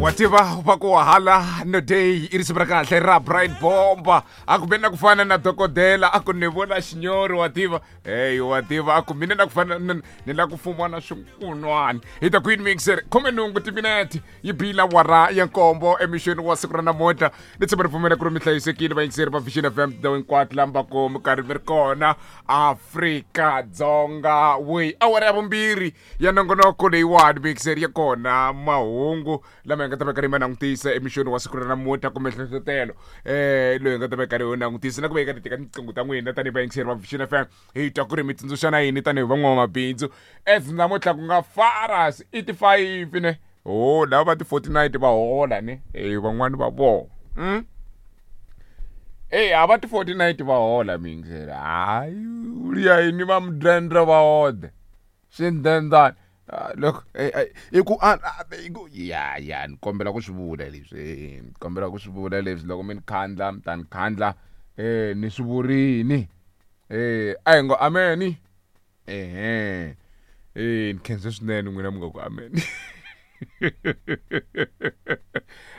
Wa tiva va ku hala no day i risimu ra kahle ra Bright Bomba. A ku na ku fana na dokodela, a ku ni vona xinyori, wa tiva. Hey, wa tiva, a ku mina na ku fana ni la ku fumiwa na swinkunwani. Hi ta Queen Mixer, 18 timinete yi bila wara ya nkombo emixweni wa siku ra namuntlha. Ni tshemba ri pfumela ku ri mi hlayisekile vayingiseri va Vision FM tindhawu hinkwato laha va ku mi karhi mi ri kona Afrika Dzonga. We awara ya vumbirhi ya nongonoko leyiwani mixer ya kona mahungu lama hi nga ta va karhi ma langutisa emixweni wa siku ra namuntlha kumbe nhlohlotelo loyi hi nga ta va karhi hi langutisa na ku va hi karhi teka tinqingho ta n'wina tanihi vayingiseri va Vision FM, hi twa ku ri mi tsundzuxana yini tanihi van'wamabindzu as namuntlha ku nga faras i ti-5 ne ho lava va ti-49 va hola ne e van'wani va vona Ey, a va ti-49 va hola miyingiseri. Hayi, ya yini va mudende va ode swindendana loko i ku i ku ya ya ni kombela ku swi vula leswi, ni kombela ku swi vula leswi. Loko mi ni khandla mi ta ni khandla ni swi vurini. A hi ngo ameni. Ehe, ni khensa swinene n'wina mi nga ku amen.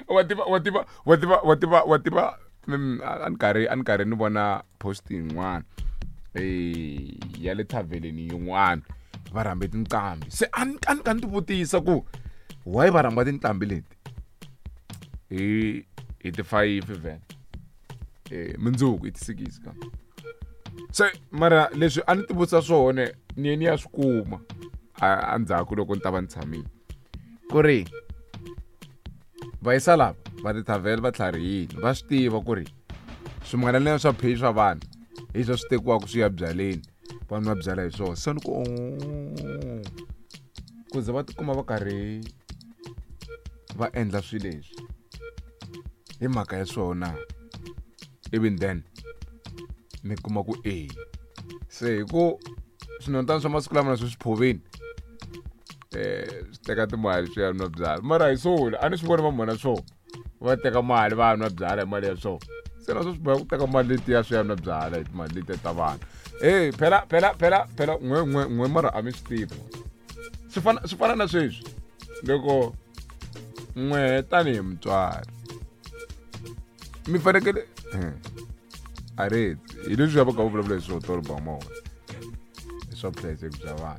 Wa tiva, wa tiva, wa tiva, wa tiva, wa tiva, a ni karhi ni vona post yin'wana ya le thaveleni yin'wana, va rhambe tinqambi. Se a ni ka ni ti vutisa ku why va rhamba tinqambi leti hi ti-5 vhele, mundzuku i ti-6 ka se. Mara leswi a ni ti vutisa swona ni ye ni ya swi kuma endzhaku loko ni ta va ni tshamile ku ri vayisa lava va tithavhele va tlharihile, va swi tiva ku ri swin'wana swa pay swa vanhu hi swo swi tekiwaka swi ya byaleni, vanhu va byala hi swona. Se ni ku ku ze va tikuma va karhi va endla swilo leswi hi mhaka ya swona. Even then mi kuma ku e se hi ku swinotani swa masiku lama na swi phoveni swi teka timali swi ya nwa byala. Mara hi swona a ni swi voni va mhona swona va teka mali va nwa byala hi mali ya swona. Se na swo swi boha ku teka mali letiya swi ya nwa byala hi timali letiya ta vanhu. Hey, phela phela phela phela n'we n'we n'we, mara a mi swi tivi, swi fana na sweswi loko n'we tanihi mutswari mi fanekele a ri hi leswi va ka va vulavula hi swona tolo ba mona hi swa vuhlayiseki bya vana.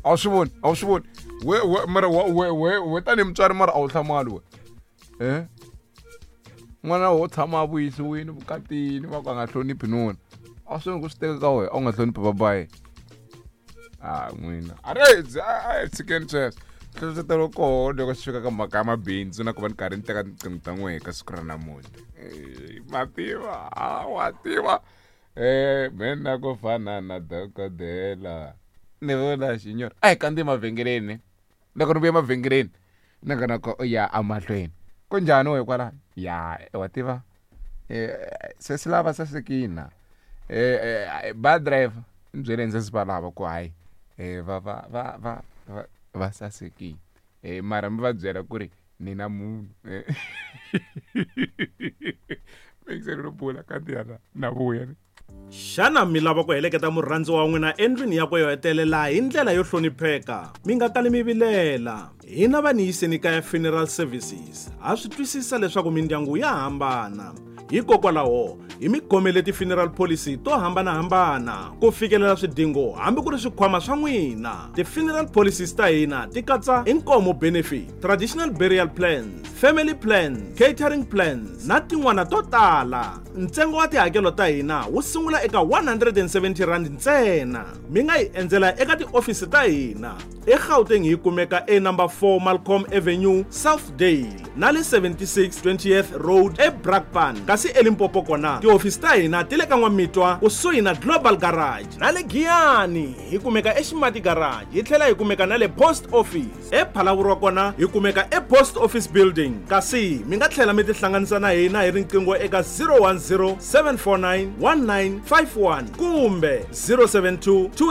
A wu swi voni, a wu swi voni we we mara we we we tanihi mutswari, mara a wu hlamali we n'wana wo tshama a vuyisiwini vukatini va ku a nga hloniphi nuna, a swi voni ku swi teka ka wena a wu nga hloniphi babayi a n'wina. A ri a hi tshikeni sweswo nhlohlotelo koho loko swi fika ka mhaka ya mabindzu na ku va ni karhi ni teka tinqingho ta n'wehe ka siku ra namuntlha. Ma tiva, a wa tiva mina ku fana na dokodela ni vula xinyori. A hi kandziyi mavhengeleni, loko ni vuya mavhengeleni ni nga na ku ya emahlweni ku njhani we kwalano ya wa tiva se swi lava sasekina ba driver ni byeleni se swi va lava ku hayi va va va va va va sasekile mara mi va byela ku ri ni na munhu mixer ro bula kanti yana na vuya ni. Xana mi lava ku heleketa murhandziwa wa n'wina endlwini yakwe yo hetelela hi ndlela yo hlonipheka? Mi nga kali mi vilela, hina va ni yiseni kaya Funeral Services ha swi twisisa leswaku mindyangu ya hambana, hikokwalaho hi mi khomele ti-funeral policy to hambanahambana ku fikelela swidingo hambi ku ri swikhwama swa n'wina. Ti-funeral policies ta hina ti katsa inkomo benefit, traditional burial plans, family plans, catering plans na tin'wana to tala. Ntsengo wa tihakelo ta hina wu sungula eka R170 ntsena. Mi nga hi endzela eka tiofisi ta hina eGauteng, hi kumeka e number 4 Malcolm Avenue, Southdale, na le 76 20th Road eBrakpan, kasi eLimpopo kona tihofisi ta hina ti le ka N'wamitwa kusuhi na Global Garage, na le Giyani hi kumeka eXimati Garage, hi tlhela hi kumeka na le Post Office ePhalavurwa kona hi kumeka ePost Office Building. Kasi mi nga tlhela mi tihlanganisa na hina hi riqingho eka 010 749 1951 kumbe 072.